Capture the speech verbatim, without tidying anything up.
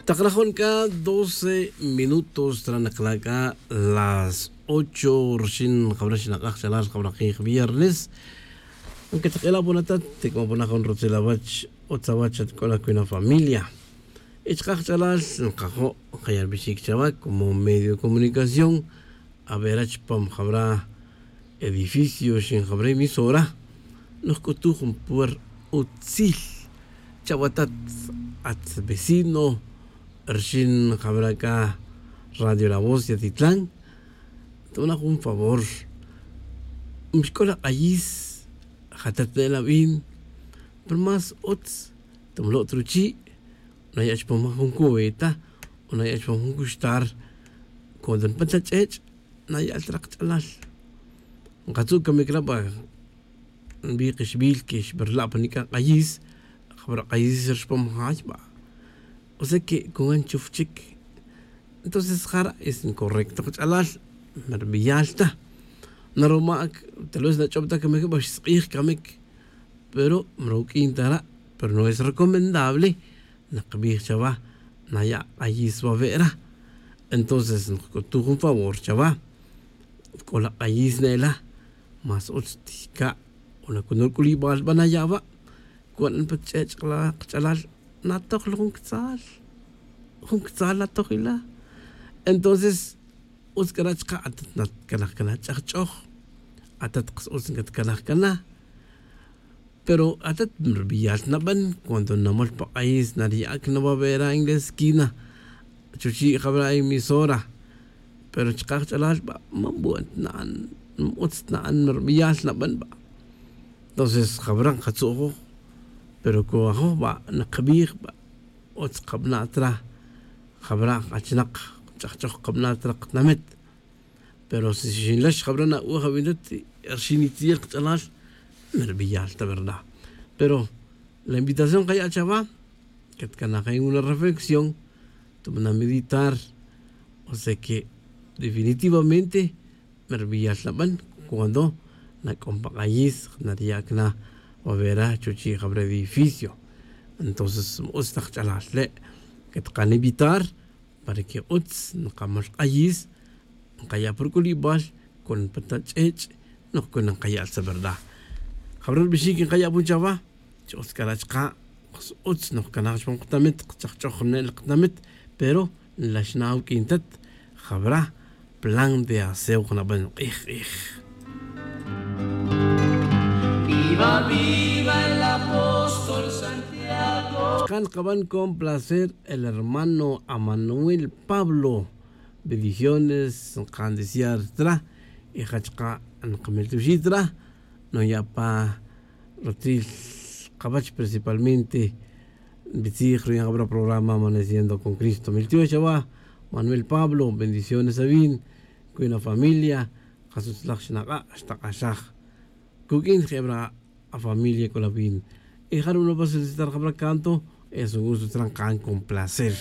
Tak rajon c'a doce minutos tra nakla' c'a las ocho rxin jabra xnak'aj ch'alal jabra kij viernes. Aunque tak'ila' pon atat tik'o pon ajun rutzil awach utz awach xatk'ola' cui na familia. Y chkaj ch'alal nkajo' nkaya' rbixic chawa como medio de comunicación. A vera chupam jabra edificio rxin jabra emisora nojc'utuj jun puer utzil chawatat. At vecino rxin jabra c'a radio la voz yatitlan. Tona jun favor mixc'ol ak'ayis. Jatat ne'el abin pero más utz. Tumlo' ta ruchi' naya' chupam jun cubeta o naya' chupam jun cuxtar. Cuando npan ta ch'ech' naya'l ta rak ch'alal. Nkatzu' camic ra ba nbij kixbil que xberla' pa nic'a k'ayis. Jabra k'ayis rxpam jay ba o sea que con gan chuf chic. Entonces jara' es ncorrecto kach'alal. Merbiyal ta naroma' tal vez nach'ob ta camic ba xsk'ij camic pero mruq'uin ta ra'. Pero no es recomendable. Nakbij chawa naya' k'ayis wawe' ra. Entonces nkc'utuj jun favor chawa c'o la k'ayis ne'ela. Más utz tijca' o nacunur c'ulibal ba naya' wa' cuan pa ch'ech' kach'alal. Natoj la jun ctzal jun ctzal natoj ila. Entonces utz c'ara' chka' atat natcalaj cana ch'ajch'oj. Atat kas utz ncatcalaj cana. Pero atat marbiyal naban cuando namol pa k'ayis nariya'ac na wabera en la esquina chuchi' jabra emisora. Pero chkaj ch'alal ba man buen tna'an man utz tna'an marbiyal naban ba. Entonces jabra nkatzu'joj pero co ajoj ba nakbij ba utz kabana' tra. Jabra achinak ch'ajch'oj kabana' tra katinamit. Pero si xinlax jabra na'uj abintat rxin itziel kach'alal. Merbiyal ta verdad. Pero la invitación kaya' chawa catcanaj en una reflexión. Tuma nameditar o sea que definitivamente merbiyal naban cuando nac'on pa k'ayis nariya'ac na wabera chuchi' jabra edificio. Entonces ma utz ta kach'alal le' catkanemitar para que utz nkamol k'ayis. Nkaya' pa ruc'ulibal con pa ta ch'ech' noj con nkaya' ta verdad. Jabra rbixic nkaya' pon chawa. Chi utz c'ara' chka' kas utz noj canaj chupam katinamit kchajch'oj ne'el katinamit. Pero nlax na awuq'uin tat jabra plan de aseo jnaban k'ij k'ij. Viva viva el apóstol santiago. Chka' nkaban con placer el hermano amanuel pablo. Bendiciones nkan desear tra. Y ja chka' nkamil tuxi' tra. Nuya' pa rutzil kawach principalmente. Nbitzij ruyan jabra programa amaneciendo con cristo miltiox awa. Manuel pablo bendiciones awin. Cuina familia. Kas utzlaj xnak'a' xtak'axaj. Cuq'uin je' abra afamilia c'o la win. Y ja runo pa solicitar jabra canto. Es un gusto trankan con placer.